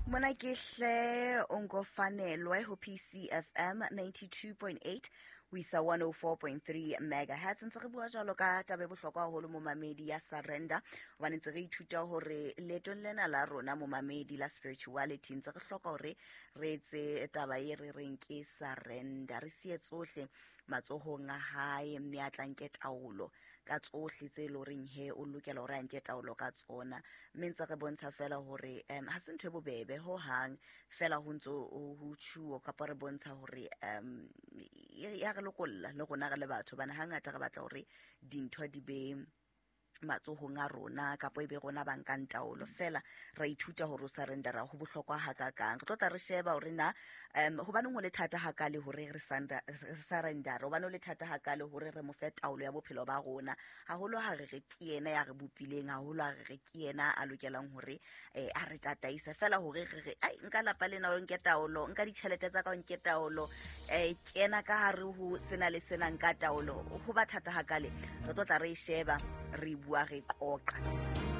Mona ke hle o nkofanelwe ho PCFM 92.8 ho isa 104.3 megahertz. Ntse re bua jwalo ka taba e bohlokwa haholo, momamedi, ya surrender, hobane ntse re ithuta hore leetong lena la rona, momamedi, la spirituality, ntse re hloka hore re etse taba e re reng ke surrender, re siye tsohle matsohong a hae, mme a tla nke taolo ka tsohle tse e le horeng he o lokela hore a nke taolo ka tsona. Mme ntse re bontsha fela hore ha se ntho e bobebe ho hang, fela ho ntso ho tjhuo kapa re bontsha hore ya re lokolla le rona re le batho, hobane hangata re batla hore dintho di be matsohong a rona kapa e be rona ba nkang taolo. Fela ra ithuta hore o surrendera ho bohlokwa hakakang. Re tlo tla re sheba hore na hobaneng ho le thata hakale hore re surrendere, hobane ho le thata hakale hore re mo fe taolo ya bophelo ba rona, haholo ha re re ke yena ya re bopileng, haholo ha re re ke yena a lokelang hore a re tataisa. Fela hore re re ai, nka lapa lena o nke taolo, nka ditjhelete tsa ka o nke taolo, kena ka hare ho sena le sena, nka taolo, ho ba thata hakale. Re tlo tla re e sheba, re bua, re qoqa.